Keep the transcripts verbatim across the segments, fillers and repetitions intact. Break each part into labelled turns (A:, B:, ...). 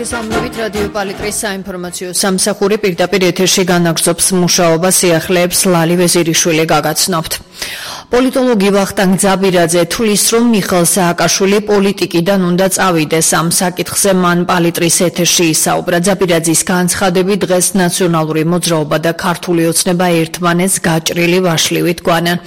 A: მოგესალმებით რადიო პალიტრის საინფორმაციო სამსახური პირდაპირ ეთერში განაგრძობს მუშაობას სიახლეებს ლალი ვეზირიშვილი გაგაცნობთ. პოლიტოლოგი ვახტანგ ძაბირაძე თulis რომ მიხეილ სააკაშვილი პოლიტიკიდან უნდა წავიდეს ამ საკითხზე მან პალიტრის ეთერში ისაუბრა. ძაბირაძის განცხადები დღეს ნაციონალური მოძრაობა და ქართული ოცნება ერთმანეთს გაჭრილი ვაშლივით გვანან.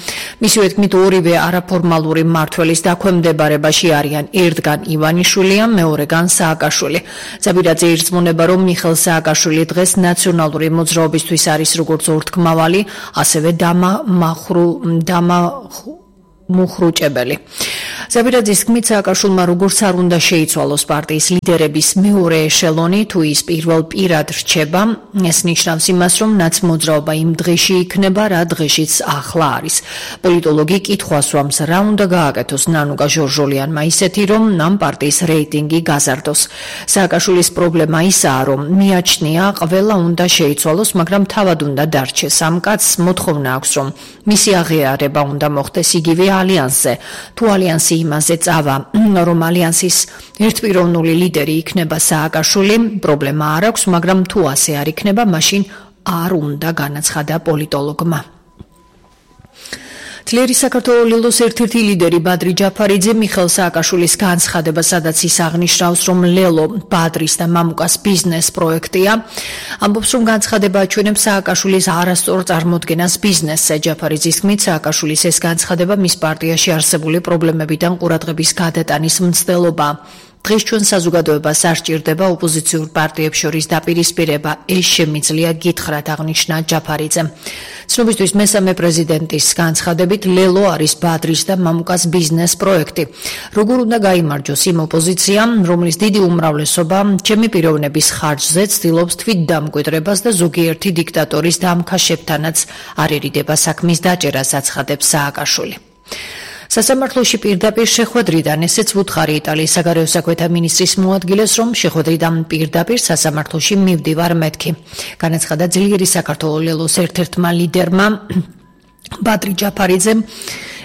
A: მისი თქმით ორივე არაფორმალური მმართველის დაქვემდებარებაში არიან ერთგან ივანიშვილია, მეორეგან სააკაშვილი. ძაბირაძე ირწმუნება რომ მიხეილ სააკაშვილი დღეს ნაციონალური მოძრაობისთვის არის როგორც ორთქმავალი, ასევე დამამახრუ დამა მუხრუჭებელი. ძაბირაძის თქმით სააკაშვილმა როგორც არ უნდა შეიცვალოს პარტიის ლიდერების მეორე ეშელონი თუ ის პირველ პირად რჩება, ეს ნიშნავს იმას, რომ ნაცმოძრაობა იმ დღეში იქნება, რა დღეშიც ახლა არის. პოლიტოლოგი კითხვას უამს, რა უნდა გააკეთოს ნანუკა ჟორჟოლიანმა ისეთი, რომ ამ პარტიის რეიტინგი გაზარდოს. სააკაშვილის პრობლემა ისაა, რომ მიაჩნია ყველა უნდა შეიცვალოს, მაგრამ თავად უნდა დარჩეს. ამ კაცს მოთხოვნა აქვს, რომ მისი აღიარება უნდა მოხდეს იგივე ალიანსზე. თუ ალიანსი იმაზე წავა, რომ ალიანსის ერთპიროვნული ლიდერი იქნება სააკაშვილი, პრობლემა არ აქვს, მაგრამ თუ ასე არ იქნება, მაშინ არ უნდა განაცხადა პოლიტოლოგმა. ძლიერი საქართველოს ლილოს ერთ-ერთი ლიდერი ბადრი ჯაფარიძე მიხეილ სააკაშვილის განცხადება, სადაც ის აღნიშნავს, რომ ლელო ბადრის და მამუკას ბიზნეს პროექტია, ამბობს, რომ განცხადება აჩვენებს სააკაშვილის არასწორ წარმოდგენას ბიზნესზე. ჯაფარიძის თქმით, სააკაშვილის ეს განცხადება მის პარტიაში არსებული პრობლემებიდან ყურადღების გადატანის მცდელობაა. დღეს ჩვენ საზოგადოებას არ სჭირდება ოპოზიციურ პარტიებს შორის დაპირისპირება, ეს შემიძლია გითხრათ, აღნიშნა ჯაფარიძემ. ცნობისთვის მესამე პრეზიდენტის განცხადებით ლელო არის ბადრის და მამუკას ბიზნეს პროექტი. როგორ უნდა გაიმარჯოს იმ ოპოზიციამ, რომლის დიდი უმრავლესობა ჩემი პიროვნების ხარჯზე ცდილობს თვითდამკვიდრებას და ზოგიერთი დიქტატორის დამქაშებთანაც არ ერიდება საქმის დაჭერას, აცხადებს სააკაშვილი. სასამართლოში პირდაპირ შეხვედრიდან ესეც ვუთხარი იტალიის საგარეო საქმეთა მინისტრის მოადგილეს, რომ შეხვედრიდან პირდაპირ სასამართლოში მივდივარ მეთქი. განაცხადა ძლიერი საქართველოს ლელოს ერთ-ერთმა ლიდერმა ბადრი ჯაფარიძემ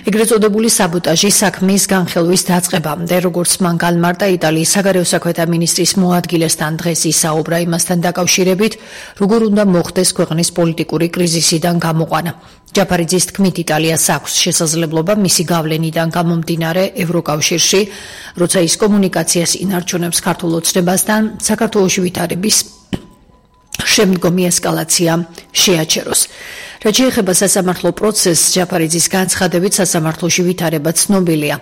A: ეგრეთ წოდებული საბოტაჟის საქმის განხილვის დაწყებამდე, როგორც მან განმარტა იტალიის საგარეო საქმეთა მინისტრის მოადგილესთან დღეს ისაუბრა იმასთან დაკავშირებით, როგორ უნდა მოხდეს ქვეყნის პოლიტიკური კრიზისიდან გამოყვანა. ჯაფარიძის თქმით, იტალიას აქვს შესაძლებლობა მისი გავლენიდან გამომდინარე ევროკავშირში, როცა ის კომუნიკაციას ინარჩუნებს ქართულ ოცნებასთან, საქართველოში ვითარების შემდგომი ესკალაცია შეაჩეროს. რაც შეეხება სასამართლო პროცესს, ჯაფარიძის განცხადებით სასამართლოში ვითარება ცნობილია.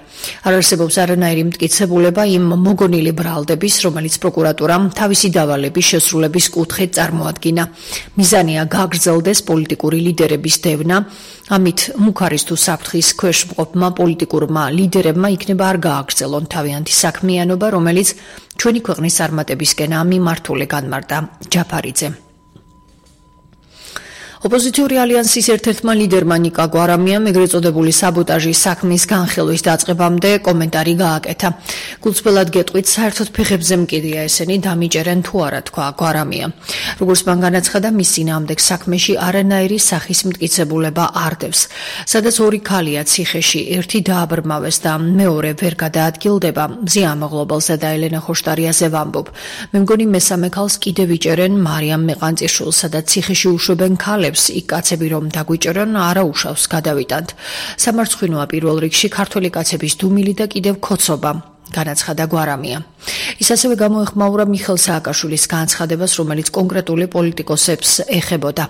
A: არ არსებობს არანაირი მტკიცებულება იმ მოგონილი ბრალდების, რომელიც პროკურატურამ თავისი დავალების შესრულების კუთხით წარმოადგინა. მიზანია გაგრძელდეს პოლიტიკური ლიდერების დევნა, ამით მუქარის თუ საფრთხის ქვეშ მყოფმა პოლიტიკურმა ლიდერებმა იქნება არ გააგრძელონ თავიანთი საქმიანობა, რომელიც ჩვენი ქვეყნის წარმატებისკენაა მიმართული, განმარტა ჯაფარიძე. ოპოზიციური ალიანსის ერთ-ერთმა ლიდერმა ნიკა გვარამიამ ეგრეთ წოდებული საბოტაჟის საქმის განხილვის დაწყებამდე კომენტარი გააკეთა. გულწრფელად გეტყვით, საერთოდ ფეხებზე მკიდია ესენი დამიჭერენ თუ არა, თქვა გვარამია. როგორც მან განაცხადა, მის წინააღმდეგ საქმეში არანაირი სახის მტკიცებულება არ დევს. სადაც ორი ქალია ციხეში, ერთი დააბრმავეს და მეორე ვერ გადაადგილდება, მზია ამაღლობელსა და ელენა ხოშტარიაზე ვამბობ. მე მგონი მესამე ქალს კიდევ იჭერენ მარიამ მეყანწიშვილს, სადაც ციხეში უშვებენ ქალებს. იქ კაცები რომ დაგვიჭერონ, არა უშავს გადავიტანთ. სამარცხვინოა პირველ რიგში ქართველი კაცების დუმილი და კიდევ ქოცობა, განაცხადა გვარამია. ის ასევე გამოეხმაურა მიხეილ სააკაშვილის განცხადებას, რომელიც კონკრეტული პოლიტიკოსებს ეხებოდა.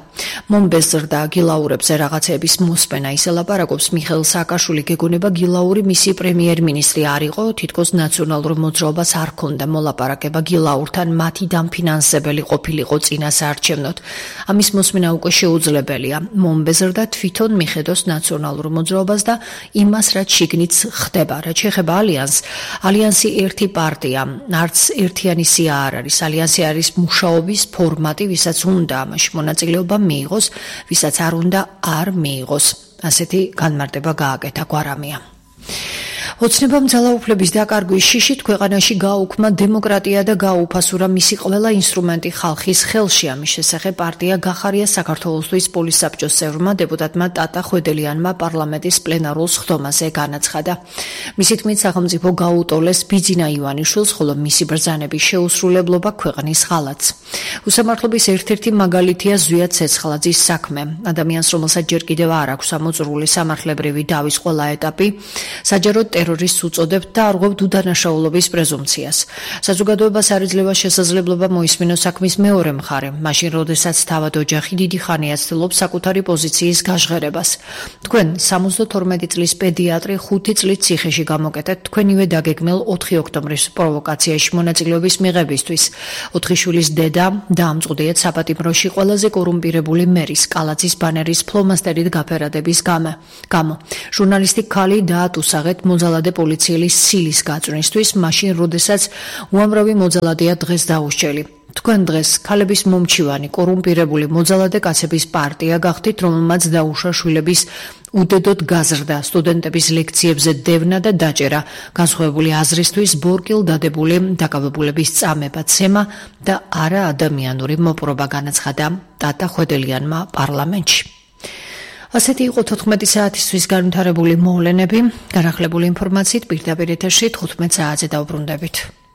A: მომბეზრდა გილაურებზე რაღაცეების მოსმენა, ის ელაპარაკობს, მიხეილ სააკაშვილი გეგონება გილაური მისი პრემიერ-მინისტრი არ იყო, თითქოს ნაციონალურ მოძრაობას არ ჰქონდა მოლაპარაკება გილაურთან, მათი დამფინანსებელი ყოფილიყო წინა საარჩევნოდ. ამის მოსმენა უკვე შეუძლებელია. მომბეზრდა თვითონ მიხედოს ნაციონალურ მოძრაობას და იმას, რაც შიგნით ხდება. რაც შეეხება ალიანსს, ალიანსი ერთი პარტია, არც ერთიანი სია არ არის. ალიანსი არის მუშაობის ფორმატი, ვისაც უნდა ამაში მონაწილეობა მიიღოს, ვისაც არ უნდა არ მიიღოს. ასეთი განმარტება გააკეთა გვარამია. ოცნებამ ძალაუფლების დაკარგვის შიშით ქვეყანაში გააუქმა დემოკრატია და გააუფასურა მისი ყველა ინსტრუმენტი ხალხის ხელში. ამის შესახებ პარტია გახარია საქართველოსთვის პოლისაბჭოს წევრმა დეპუტატმა ტატა ხვედელიანმა პარლამენტის პლენარულ სხდომაზე განაცხადა. მისი თქმით, სახელმწიფო გაუტოლეს ბიძინა ივანიშვილს, ხოლო მისი ბრძანების შეუსრულებლობა ქვეყნის ღალატს. უსამართლობის ერთ-ერთი მაგალითია ზვია ცეცხლაძის საქმე. ადამიანს, რომელსაც ჯერ კიდევ არ აქვს ამოწურული სამართლებრივი დავის ყველა ეტაპი, საჯაროდ ტერორისტს უწოდებთ და არღვევთ უდანაშაულობის პრეზუმპციას. საზოგადოებას არ იძლევა შესაძლებლობა მოისმინოს საქმის მეორე მხარე, მაშინ როდესაც თავად ოჯახი დიდი ხანია ცდილობს საკუთარი პოზიციის გაჟღერებას. თქვენ სამოცდათორმეტი წლის პედიატრი ხუთი წლით ციხეში გამოკეტეთ თქვენივე დაგეგმილ ოთხი ოქტომბრის პროვოკაციაში მონაწილეობის მიღებისთვის. ოთხი შვილის დედა დაამწყვდიეთ საპატიმროში ყველაზე კორუმპირებული მერის კალაძის ბანერის ფლომასტერით გაფერადების გამო. ჟურნალისტი ქალი დაატუსაღეთ მოძალადე პოლიციელის სილის გაწვრისთვის, მაშინ როდესაც უამრავი მოძალადეა დღეს დაუსჯელი. თქვენ დღეს ქალების მომჩივანი კორუმპირებული მოძალადე კაცების პარტია გახდით, რომელმაც დაუშვა შვილების უდედოდ გაზრდა, სტუდენტების ლექციებზე დევნა და დაჭერა, განსხვავებული აზრისთვის ბორკილ დადებული დაკავებულების წამება, ცემა და არა ადამიანური მოპყრობა, განაცხადა ტატა ხვედელიანმა პარლამენტში. ასეთი იყო თოთხმეტი საათისთვის განვითარებული მოვლენები. განახლებული ინფორმაციით პირდაპირ ეთერში თხუთმეტ საათზე დავბრუნდებით.